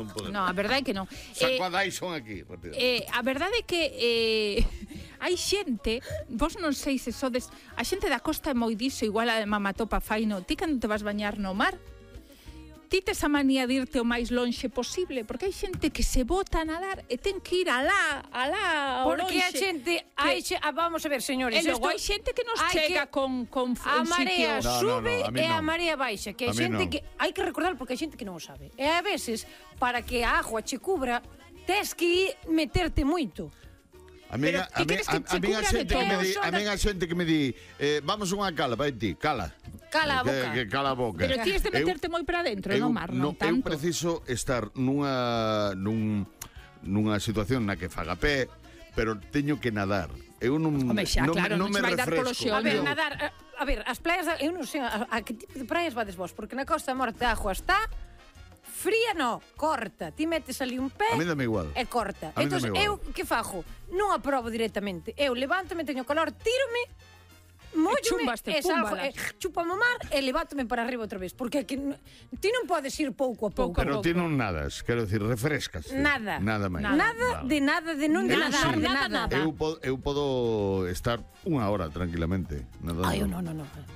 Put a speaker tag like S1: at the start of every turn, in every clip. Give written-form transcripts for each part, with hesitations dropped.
S1: non podemos.
S2: No, a verdade é que non.
S1: Sacuadais son aquí.
S2: A verdade é que hai xente, vos non sei se sodes, a xente da costa é moi diso, igual a de Mamatopa Faino. Ti cando te vas bañar no mar, ti tes a manía de irte o máis lonxe posible, porque hai xente que se bota a nadar e ten que ir alá, ao lonxe.
S3: Porque a xente, vamos a ver, señores,
S2: e logo hai xente que nos chega con
S3: a marea
S2: sitios.
S3: sube e a marea baixa, que hai xente que hai que recordar porque hai xente que non o sabe. E a veces, para que a agua che cubra, tes que meterte moito.
S1: A mí a xente que me di vamos a unha cala, vai ti, cala.
S3: Cala a boca.
S1: Que cala a boca.
S2: Pero ti has de meterte moi para dentro, no mar, non tanto.
S1: Eu preciso estar nunha situación na que faga pé, pero teño que nadar. Eu non me refresco.
S3: A ver, nadar, a ver, as praias, eu non sei a que tipo de praias vades vos, porque na Costa Morte a agua está fría, no, corta. Ti metes ali un pé.
S1: A mí dame igual.
S3: E corta. Entón, eu que fago? Non aprobo directamente. Eu levántome, teño calor, tírome, móllome e salgo, chúpame o mar e levántome para arriba outra vez. Porque ti non podes ir pouco a pouco.
S1: Pero ti non nadas, quero dicir, refrescas.
S3: Nada.
S1: Nada máis.
S3: Nada de non de nadar, de nada.
S1: Eu podo estar unha hora tranquilamente nadando.
S3: Ai, non.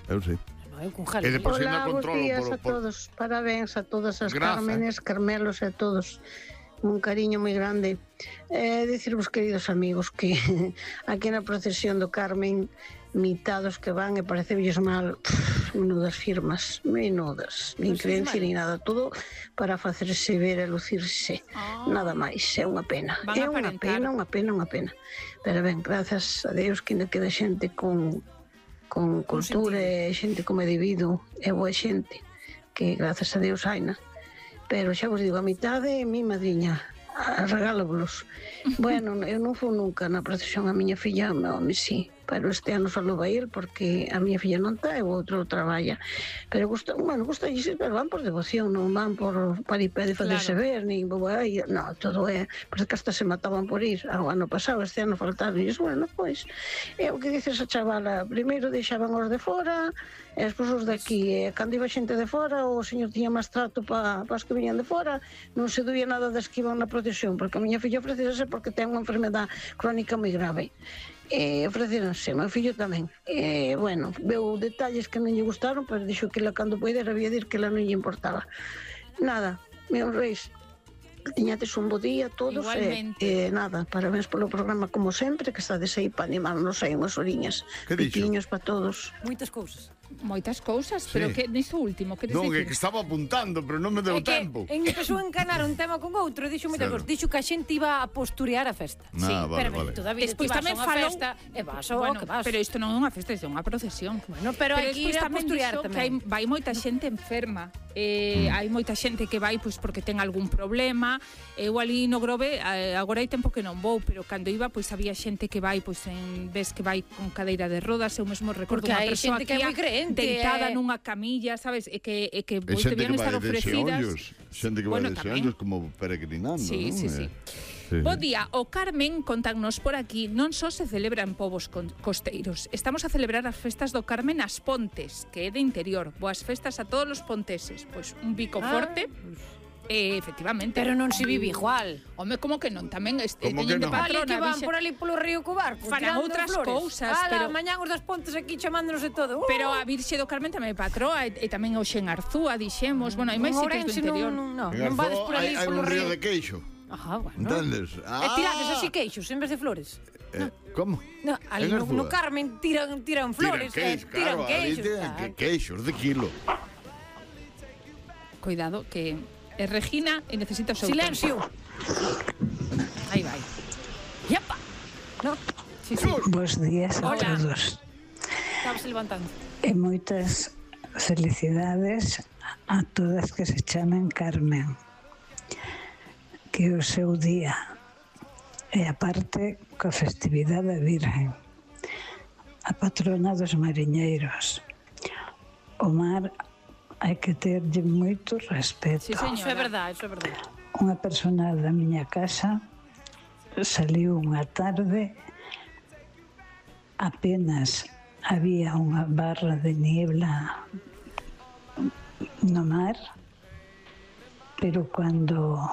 S1: Eu sei.
S4: Hola, bons días a todos. Parabéns a todas as Cármenes, Carmelos e a todos. Un cariño moi grande. Dicirvos, queridos amigos, que aquí na procesión do Carmen, mitados que van e parecebelles mal, menudas firmas, menudas, nin creencia nin nada, todo para facerse ver e lucirse. Nada máis, é unha pena. É unha pena. Pero ben, grazas a Deus que ainda queda xente con cultura e xente como é debido, é boa xente que grazas a Deus haina, pero xa vos digo, a mitade é mi madriña, regálovos. Bueno, eu non fui nunca na procesión, a miña filla, home, sí, pero este ano só vai ir porque a miña filla non está e o outro traballa, pero gusta ir, pero van por devoción, non van por paripé de facerse ver, nin non, todo é, porque que hasta se mataban por ir ao ano pasado, este ano faltaron, e bueno, pois é o que dices a chavala, primeiro deixaban os de fora e despois os de aquí, e cando iba xente de fora o señor tiña máis trato para as que viñan de fora, non se duía nada das que iban na procesión, porque a miña filla ofrecese porque ten unha enfermedade crónica moi grave. Ofreceronse, meu fillo tamén. Bueno, veu detalles que non lle gustaron, pero dixo que la cando poidera había dir que la non lle importaba. Nada, meus reis, tiñates un bo día todos.
S2: Igualmente.
S4: Nada, parabéns polo programa como sempre, que estades aí para animarnos aí unhas oriñas. Piquiños para todos.
S2: Moitas cousas, pero que niso último, que
S1: non, é que estaba apuntando, pero non me deu tempo.
S3: Empezou a encanar un tema con outro, dixo moitas cousas, dixo que a xente iba a posturear a festa.
S1: Sí, vale.
S3: Despois tamén falou festa, e vas ao que vas.
S2: Pero isto non é unha festa, isto é unha procesión.
S3: Bueno, pero hai que ir a posturear tamén.
S2: Vai moita xente enferma. Hai moita xente que vai pois porque ten algún problema. Eu ali no Grove, agora hai tempo que non vou, pero cando iba pois había xente que vai pois en vez que vai con cadeira de rodas, eu mesmo recordo unha persoa que deitada nunha camilla, sabes, e que podían estar ofrecidas.
S1: Xente que vai de xeonllos como peregrinando, non?
S2: Sí. Bo día, o Carmen, contannos por aquí, non só se celebra en povos costeiros. Estamos a celebrar as festas do Carmen nas Pontes, que é de interior. Boas festas a todos os ponteses. Pois un bico forte. Efectivamente.
S3: Pero non se vive igual.
S2: Home, como que non? Tamén teñen de patrona.
S3: Que van por ali polo río Cubar,
S2: farán outras cousas.
S3: Pero mañán os das Pontes aquí chamándonos de todo.
S2: Pero a Virxe do Carmen tamén é patroa, e tamén hoxe en Arzúa, dixemos. Bueno, hai máis sitios do interior.
S3: Non vades por ali polo río.
S1: Hai un río de queixo.
S3: Bueno.
S1: Entendes?
S3: E tirades así queixos en vez de flores.
S1: Como?
S3: Ali no Carmen tiran flores, tiran queixos.
S1: Queixos de kilo.
S2: Cuidado, que é Regina e necesita o seu
S3: silencio. Aí vai. Yapa. No.
S5: Sí. Bos días a todos.
S3: Estamos levantando.
S5: E moitas felicidades a todas que se chamen Carmen. Que o seu día e aparte coa festividade da Virgen, a patrona dos mariñeiros. O mar hai que terlle moito respeto.
S2: Sí, señora.
S3: Eso é verdade.
S5: Unha persona da miña casa saliu unha tarde, apenas había unha barra de niebla no mar, pero cando